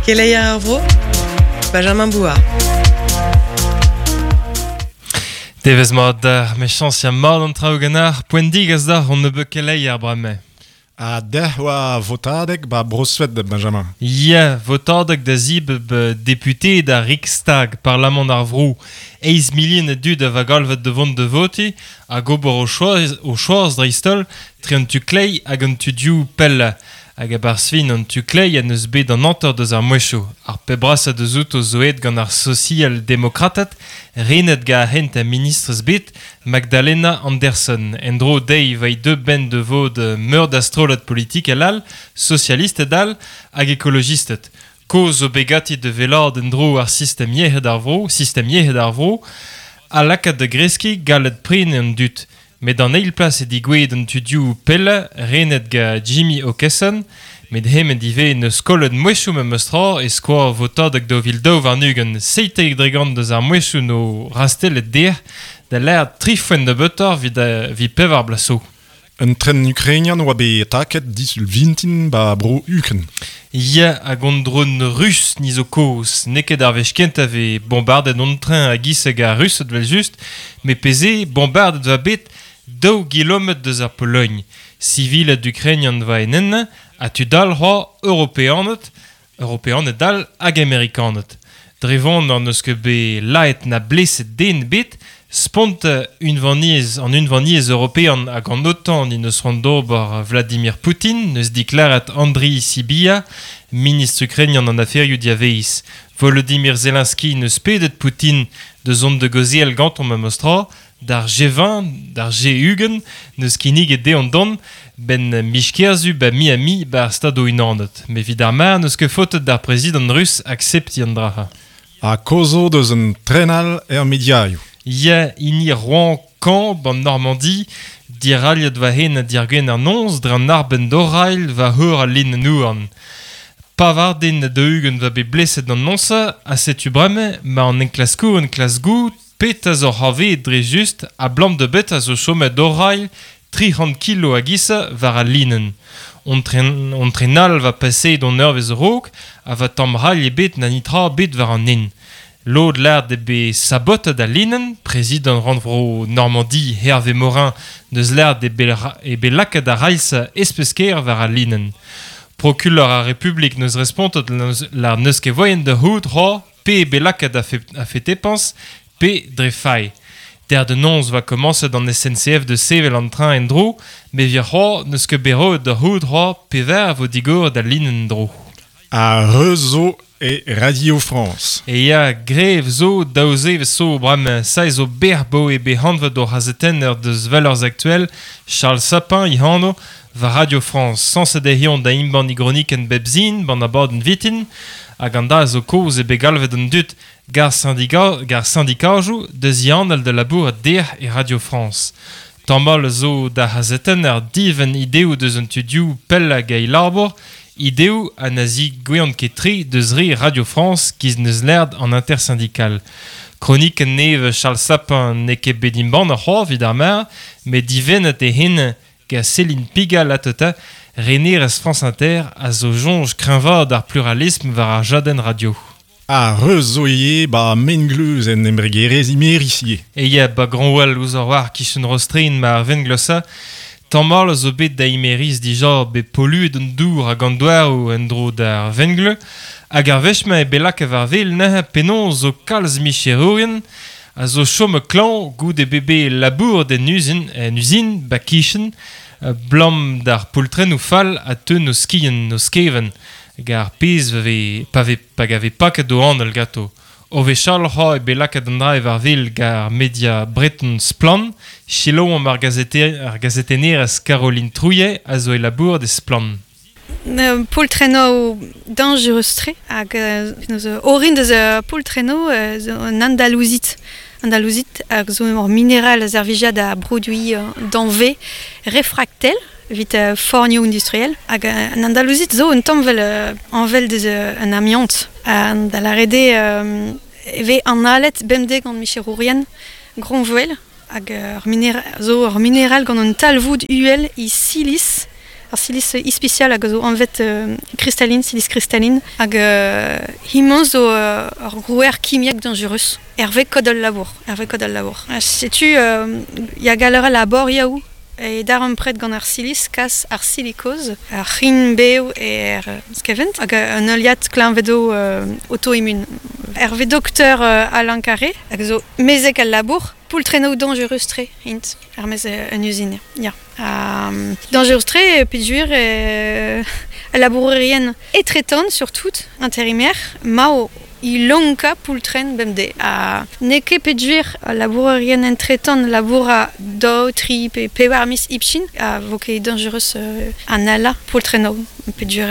Keleier ar vro, Benjamin Bouard. Devezh mat d'ar mechañs ya mat an traoù ganeoc'h. Poent digas deoc'h hon nebeud keleier bremañ. Ha dec'h oa votadeg 'ba Bro-Sued, Benjamin. Ya, votadeg da zibab deputeed ar Riksdag, parlamant ar vro. Eizh milion a dud a va galvet da vont da votiñ hag ober o choaz, o choaz dreist-holl tre an tu kleiz hag an tu dioù pellañ. Hag a-barzh fin an tu kleiz en deus bet an hanter deus ar mouezhioù. Ar pep brasañ deus outo zo aet gant ar sosial-demokrated, renet gant ar c'hentañ ministrez bet, Magdalena Andersson. En-dro dezhi e vai deuet benn da vod meur da strollad politikel all, sosialisted all hag ekolojisted. Kaoz zo bet ganti da wellaat en-dro ar sistem yec'hed ar vro, sistem yec'hed ar vro, ha lakaat da greskiñ gallet prenañ an dud. Met d'an eil plas eo degouezhet an tudioù pellañ renet gant Jimmy Åkesson, met hemañ ivez n'eus kollet mouezhioù memes-tra e skoaz votadeg 2022 17% deus ar mouezhioù 'no rastellet dec'h da lâret tri foent nebeutoc'h evit evit pevar bloaz zo. Un tren ukrainian oa bet taket disul vintin 'ba bro Ukren. Ya, hag hon dron rus ni zo kozh. N'eo ket ar wech kentañ 'vez bombardet hon tren a-giz hag ar Rused evel-just, met pezh eo, bombardet 'va bet daou gilometr deus ar Pologn. Siviled ukrainian 'va en ennañ ha tud all c'hoazh, Europeaned, Europeaned all hag Amerikaned. Dre vont n'hon eus ket bet laet na bleset den ebet, spont unvaniezh an Unvaniezh european hag an OTAN en deus c'hoant d'ober Vladimir Poutin, neus deklaret Andriy Sybiha, ministr ukrainian an aferioù diavaez. Volodymyr Zelensky neus pedet Poutin da zont da gaozeal gantañ memes tra, D'ar G20, d'ar G20 n'eus kinniget dezhañ dont 'benn miz Kerzu 'ba Miami 'ba ar Stadoù-Unanet. Met evit ar mare n'eus ket faotet d'ar prezidant rus akseptiñ an dra-se. Ha kaoz zo deus un tren all er mediaioù. Ya, hini Rouen Caen 'ban Normandi, dirailhet war hen dirgwener an noz dre an arbenn d'Orail war eur al linenn-houarn. Pevar den ha daou-ugent 'oa bet bleset an noz-se ha setu bremañ 'ma an enklaskourien klask goût Petra zo c'hoarvezet dre just abalamour da betra zo chomet orailh 300 kilo a giz-se war al linenn. Hon tren, hon tren all va paseet hon eurvezh a-raok ha va tamm railh ebet na netra ebet war an hent. Lod lâret eo bet sabotet al linenn, prezidant rannvro Normandi Hervé Morin neus lâret eo bet, eo bet lakaet ar railh-se espes-kaer war al linenn. Prokulor ar Republik neus respontet lâret n'eus ket voaien da c'hoût c'hoazh pe eo bet lakaet a-fetepañs pe dre fae. Der da noz 'oa komañset an SNCF da sevel an train en-dro, met evit c'hoazh n'eus ket bet roet da c'hoût c'hoazh pevar a vo digoret al linenn en-dro. Ar reuz zo e Radio France. E ya, grev zo, daou zevezh zo bremañ. Sa zo bec'h 'baoe bet anvet o c'hazetenner deus Valeurs Actuelles, Charles Sapin e anv, war Radio France. Sañset eo eñ da embann e gronikenn bep sin, 'ban abadenn vitin. Hag an dra zo kozh eo bet galvet an dud gant ar sindikajoù da zianal da labourat dec'h e Radio France. Tamall zo d'ar c'hazetenner divenn ideoù deus an tudioù pellañ hag e labour, ideoù ha na zigouezont ket tre deus re Radio France giz n'eus lâret an intersyndical. Kronikenn nevez Charles Sapin n'eo ket bet embannet c'hoazh evit ar mare, met divennet eo hen Gant Céline Pigalle ateta, renerez France Inter, a zo soñj kreñvaat ar pluralism war ar jadenn radio. Ha reuz zo ivez 'ba Mengleuz en embregerezh Imerys ivez. E ya, 'ba Granwell ouzh ar war kichen Rostren ma ar venglosa, tamall a zo bet da Imerys dija bet polluet an dour hag an douaroù en-dro d'ar vengleuz, hag ar wech-mañ eo bet lakaet war-wel neuze penaos zo kalz micherourien a zo chomet klañv goude bet bet labouret en uzin, en uzin 'ba kichen, 'blam d'ar poultrennoù fall a teu 'n o skiant, 'n o skevent, hag ar pezh vez pa vez pa gave paket o anal ganto. O wechall c'hoazh eo bet lakaet an dra war-wel gant ar media breton Splann! Selaouomp ar ar gazetennerez Caroline Trouillet a zo e labourat e Splann! Poltrenoù dañjerus-tre hag orin deus poltrenoù zo un andalouzit. Andalouzit hag zo ur mineral a servija da broduiñ danvez refraktel evit fornioù industriel. Hag an andalouzit zo un tamm 'vel añvel deus un amiant. Da lâret eo e vez analet bemdez gant micherourien Groñvel hag ur zo ur mineral gant un talvoud uhel e silis. Ar silis ispicial hag zo anvet kristalline, silis kristalline, hag himañ zo ur grouer kimiek dangerus. Hervé kod al labour, Hervé kod al labour. Setu ya galler a labor yaou e dar an pred gant ar silis kas ar silikoz, ar c'hin bev e er skevent, hag un euliad kleñvedo auto-immune. Hervé docteur Alain Carré, hag zo mezek al labour, poultreno dangerus-tre int, ar mez un usine. Ya. Dangerus-tre, peogwir al labourerien etretant surtout, intérimaire, mao ilonka poultren bemde. Ha n'eo ket peogwir al labourerien entretant laboura daou, tri pe pevar miz hepchin a vo ket dangerus an ala poultreno. Peogwir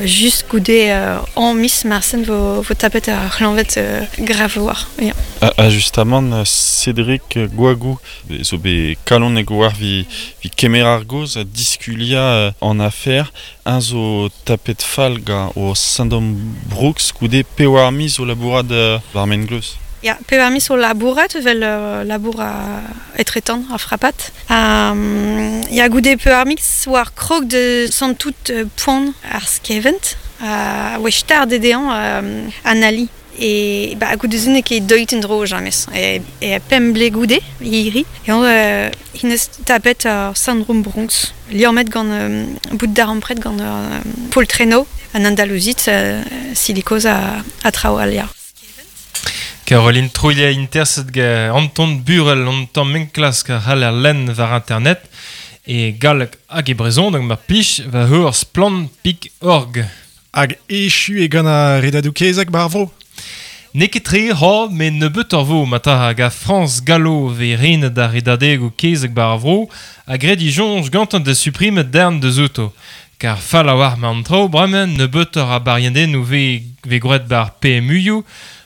just goude an miz marsen vo, vo tapet ar c'hlañved grav war. Ya. Ha justamant, Cédric Goagou zo bet kalonek war vi, vi kemer ar goz a diskulia an afer un zo tapet fall gant o syndrome Brooks goude pewar miz o labourat war mengleuz. Ya, pevar miz o labourat, vel labour a etretant, a frapat. Ya, goude pevar miz war krog de santout poan ar skevent, a oa start dedean an ali. E ba, goude se n'eo ket deuet en dro james. E pemp ble goude, hiri. E on hinez tapet ar syndrome Bronx. Liammet gant bout d'ar ampret gant poltreno an Andalouzit, silikoz a traoù al ya. Caroline Trouillet interset ga Anton Burel an tamm enklask a c'haller lenn war internet e galleg hag e brezhoneg mar plij war ur splann pik org. Hag echu e gant ar redadou kezeg bar vro. N'eo ket tre ha, met nebeut ur vo mata hag a Frañs Gallo ve renet ar redadegoù kezeg bar vro a gred i soñj gantañ da suprimet darn deus outo. Kar fall a war ma an traoù bremañ nebeut ur a bariendennoù ve, ve gwraet bar PMU-ioù,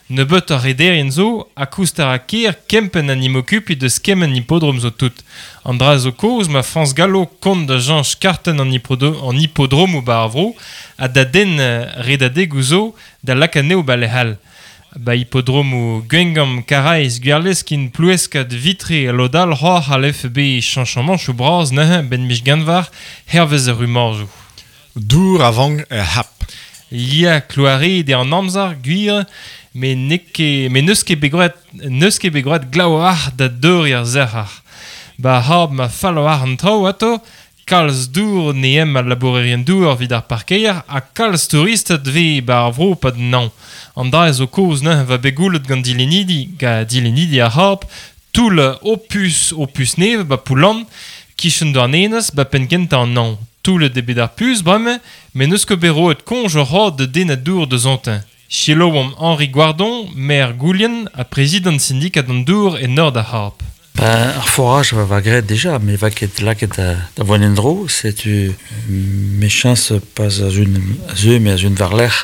nebeut ur rederien zo ha koust a ra ker kempenn an imokupi deus kement hippodrom zo tout. An dra zo kozh ma Frañs Gallo kont da jañch kartenn an, an hippodromoù bar ar vro ha da den redadegoù zo da lakaat anezho ba lec'h all. Ba hippodromoù Gwengamp, Karaez, Gwerleskin, Ploueskad, Vitré, Lodal, c'hoar c'hallef bet chañchamanchoù bras neuze ben mich ganvar hervez ar rumorjoù. Dour a vank er c'hap. Ya, kloaret eo an amzer, gwir, met n'eo ket, met n'eus ket bet gwraet, n'eus ket bet gwraet glav a-walc'h da deuriñ ar sec'har. Ba c'hab ma fall war an traoù ato, kalz dour ne em al labourerien dour evit ar parkeier ha kalz touristed vez ba ar vro pad nañ. An dra zo kozh neuze va bet goulet gant dilennidi, ga dilennidi ar c'hab, toull opus opus nevez ba Poullan, kichen Douarnenez ba penn kentañ an nañ. Toullet eo bet ar puñs bremañ, met n'eus ket bet roet koñj ur c'had da den a dour deus antin. Selaouomp Henri Guardon, maire Goulien ha prezidant syndikat an dour e nord ar c'hab. Ben, ar forage va va graet dija, met va ket lakaet da, da vont en-dro, setu mechañs pas a zun a zeu, met a zun war-lerc'h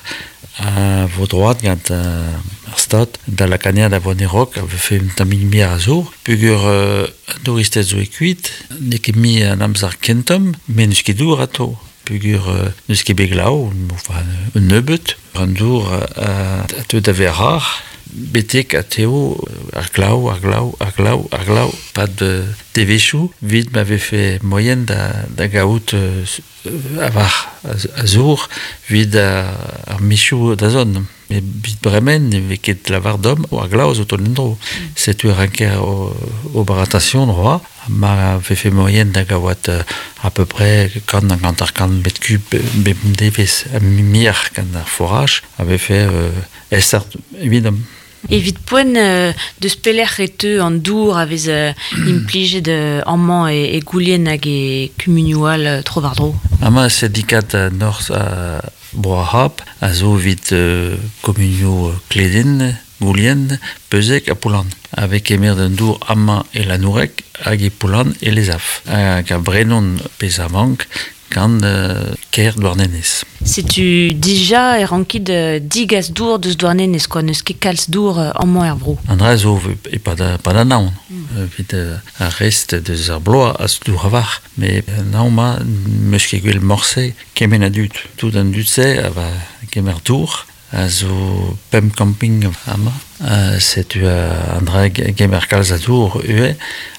a vo droad gant ar stad da lakaat da vont e-raok, a vefe un tammig mir a zour. Peogwir an douristed zo e kuit, n'eo ket mui an amzer kentomp, met n'eus ket dour atao. Peogwir n'eus ket bet glav, enfin, un nebeut, an dour a teu da vezañ rar, betek a teo ar glav, ar glav, ar glav, ar glav, pad devezhioù, evit ma vefe moaien da, da gaout a-walc'h a zour evit ar mizioù da zont. Met evit bremen ne vez ket lavar deomp ar glav zo tont en-dro. Setu e ranker ober attention droit, ma vefe moaien da gaout à peu près kant hag hanter-kant metr kub bep devezh mir gant ar forage a vefe aesoc'h evidomp. Evit poent deus pelec'h e teu an dour a vez implijet amañ e, e Goulien hag e kumunioù all tro-war-dro. Amañ syndikat Norzh Bro ar C'hab a zo evit kumunioù Kleden, Goulien, Beuzeg ha Poullan. A vez kemeret an dour amañ e Lanoureg hag e Poullan e Lezaf. Hag a brenont pezh a vank gant kêr Douarnenez. Setu dija e rankit digas dour deus Douarnenez, quoi, n'eus ket kalz dour amañ er vro. An dra zo e-pad pad an hañv, evit ar rest deus ar bloaz a zo dour a-walc'h. Met an hañv-mañ n'eus ket gwell morse kement a dud. Tout an dud-se a va kemer dour. A zo pem camping ama. Setu an dra gemer kalz a dour ue,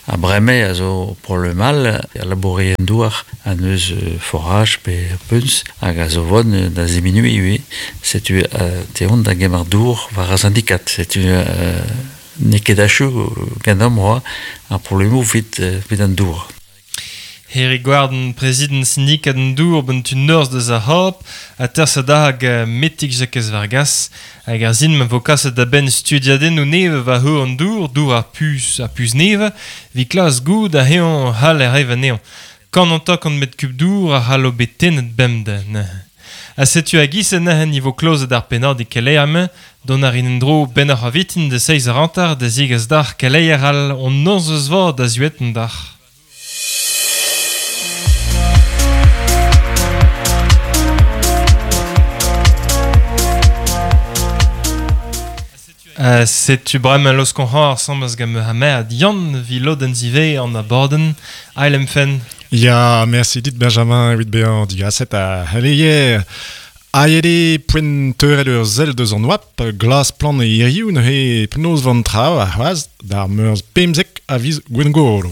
a breme a zo pour le mal, a labouré en douar, an eus forage pe puns, hag a zo von da ziminui ue, setu te on da gemer dour war a syndikat. Setu ne ket achu gant am roa, ar problemoù vit, vit an dour. Heri Gwarden, prezident syndikat an dour ben tu norz deus ar hop, a tersa da hag metik Jacques Vargas, hag ar zin ma vo kaset da ben studiaden ou neve va heur an dour, dour ar pus, ar pus neve, vi klas goud a heon hal er eva neon. Kan an tok an met kub dour a halo betenet bemde. A setu a gis en nahen nivo klozet ar penard e keleier don ar in dro ben ar avitin de seiz ar antar da zigaz dar keleier al on noz eus vor da zuet dar. Setu bremañ los kon ar sambaz gant ha mer Yann vi lodenn zive an aborden ailem fen. Ya, merci dit Benjamin evit bezañ digaset a heleier. Aet poent teurel ur sell deus an oap, glas plan e hiziv neuze penaos van traoù ar c'hoazh d'ar meurzh pemzek a viz Gwengolo.